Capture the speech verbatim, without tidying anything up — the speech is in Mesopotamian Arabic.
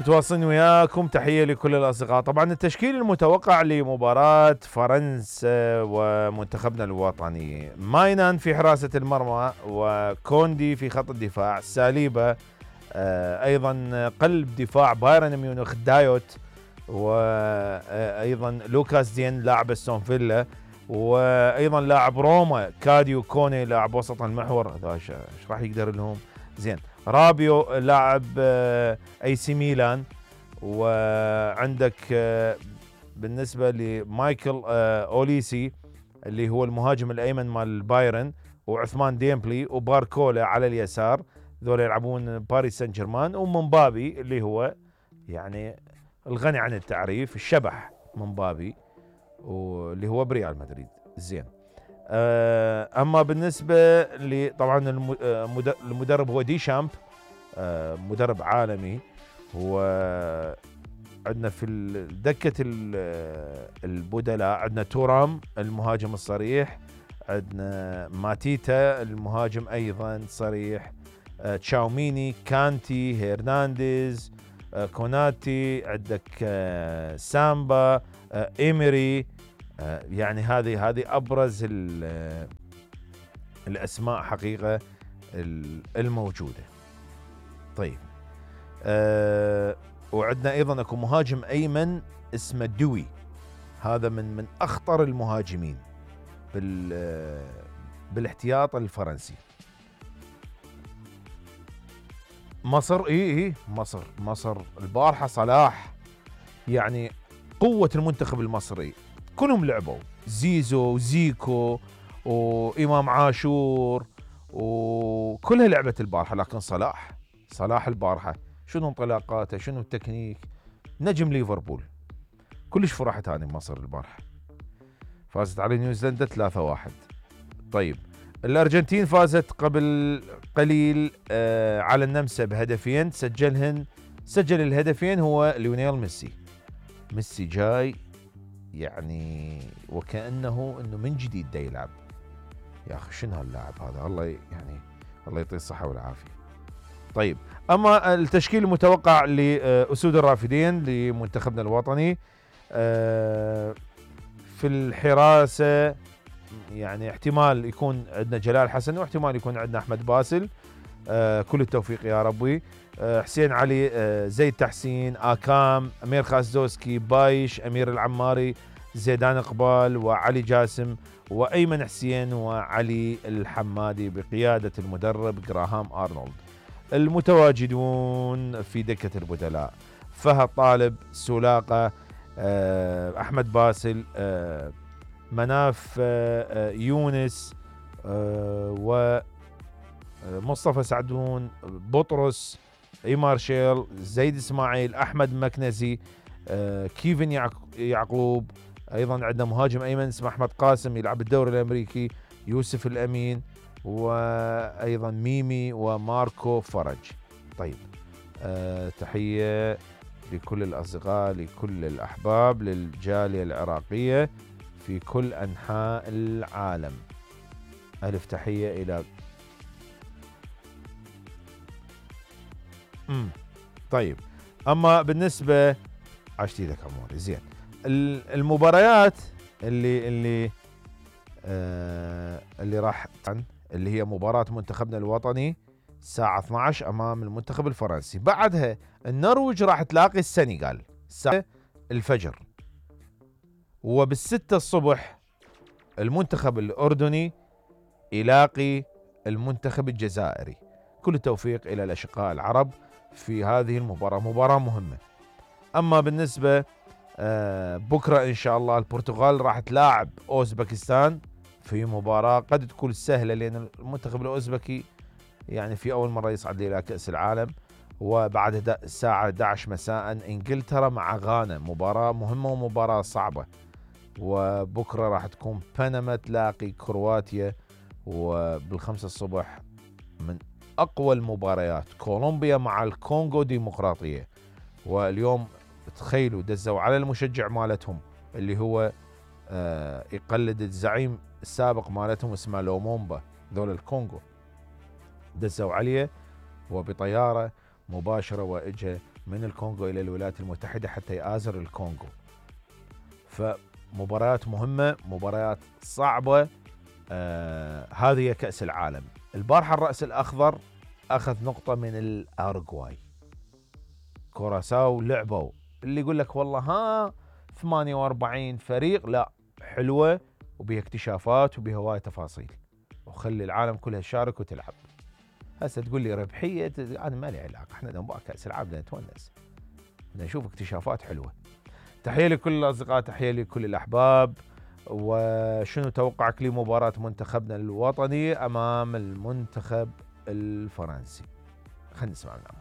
متواصلين وياكم، تحية لكل الأصدقاء. طبعا التشكيل المتوقع لمباراة فرنسا ومنتخبنا الوطني: ماينان في حراسة المرمى، وكوندي في خط الدفاع، ساليبا آه أيضا قلب دفاع بايرن ميونخ دايوت، وأيضا لوكاس دين لاعب استون فيلا، وأيضا لاعب روما كاديو كوني لاعب وسط المحور. هذا ايش راح يقدر لهم؟ زين. رابيو لاعب اي سي ميلان، وعندك بالنسبه لمايكل اوليسي اللي هو المهاجم الايمن مال بايرن، وعثمان ديمبلي وباركولا على اليسار، ذول يلعبون باريس سان جيرمان. ومنبابي اللي هو يعني الغني عن التعريف، الشبح منبابي، واللي هو بريال مدريد. زين. اما بالنسبه ل طبعا المدرب هو دي شامب، مدرب عالمي. هو عندنا في دكه البدلاء عندنا تورام المهاجم الصريح، عندنا ماتيتا المهاجم ايضا صريح، تشاوميني، كانتي، هيرنانديز، كوناتي، عندك سامبا، ايمري. يعني هذه هذه ابرز الاسماء حقيقه الموجوده. طيب أه وعندنا ايضا اكو مهاجم ايمن اسمه دوي، هذا من من اخطر المهاجمين بال بالاحتياط الفرنسي. مصر اي اي مصر مصر البارحه صلاح، يعني قوه المنتخب المصري كلهم لعبوا، زيزو وزيكو وإمام عاشور وكلها لعبت البارحة، لكن صلاح صلاح البارحة شنو انطلاقاته، شنو التكنيك، نجم ليفربول. كلش فرحت هاني مصر البارحة، فازت على نيوزيلندا ثلاثة واحد. طيب الأرجنتين فازت قبل قليل آه على النمسا بهدفين، سجلهن سجل الهدفين هو ليونيل ميسي. ميسي جاي يعني وكأنه انه من جديد دا يلعب. يا اخي شنو هاللاعب هذا، الله يعني الله يعطيه الصحة والعافية. طيب اما التشكيل المتوقع لأسود الرافدين لمنتخبنا الوطني: في الحراسة يعني احتمال يكون عندنا جلال حسن، واحتمال يكون عندنا احمد باسل. كل التوفيق يا ربي. حسين علي، زيد تحسين، آكام، أمير خاسدوسكي، بايش، أمير العماري، زيدان إقبال، وعلي جاسم، وأيمن حسين، وعلي الحمادي بقيادة المدرب جراهام أرنولد. المتواجدون في دكة البدلاء: فهد طالب، سولاقة، أحمد باسل، مناف يونس، و مصطفى سعدون، بطرس، إيمارشيل، زيد إسماعيل، أحمد مكنزي، كيفن يعقوب. أيضا عندنا مهاجم أيمن اسمه أحمد قاسم يلعب الدوري الأمريكي، يوسف الأمين، وأيضا ميمي وماركو فرج. طيب أه تحية لكل الأصدقاء، لكل الأحباب، للجالية العراقية في كل أنحاء العالم. ألف تحية إلى امم طيب اما بالنسبه عشتي لك اموري. زين. المباريات اللي اللي آه اللي راح اللي هي مباراه منتخبنا الوطني الساعه اثنعش امام المنتخب الفرنسي. بعدها النرويج راح تلاقي السنغال الساعه الفجر، وبالستة الصبح المنتخب الاردني يلاقي المنتخب الجزائري. كل التوفيق الى الاشقاء العرب في هذه المباراة، مباراة مهمة. أما بالنسبة آه بكرة إن شاء الله البرتغال راح تلاعب أوزبكستان في مباراة قد تكون سهلة، لأن المنتخب الأوزبكي يعني في أول مرة يصعد إلى كأس العالم. وبعد الساعة احد عشر مساء إنجلترا مع غانا، مباراة مهمة ومباراة صعبة. وبكرة راح تكون بنما تلاقي كرواتيا، وبالخمسة الصبح من أقوى المباريات كولومبيا مع الكونغو ديمقراطية. واليوم تخيلوا دزوا على المشجع مالتهم اللي هو آه يقلد الزعيم السابق مالتهم اسمه لومومبا، ذول الكونغو، دزوا عليه وبطيارة مباشرة وإجا من الكونغو إلى الولايات المتحدة حتى يآزر الكونغو. فمباريات مهمة، مباريات صعبة. آه هذه هي كأس العالم. البارحة الرأس الأخضر أخذ نقطة من الأورغواي. كوراساو لعبوا، اللي يقول لك والله ها ثمانية وأربعين فريق، لا، حلوة وبها اكتشافات وبها هواي تفاصيل، وخلي العالم كلها تشارك وتلعب. هسه تقول لي ربحية، أنا ما لي علاقة، احنا نبغى كأس العالم نتونس، نشوف اكتشافات حلوة. تحية لكل الأصدقاء، تحية لكل الأحباب. وشنو توقعك لمباراة منتخبنا الوطني أمام المنتخب الفرنسي؟ خلينا نسمع منهم.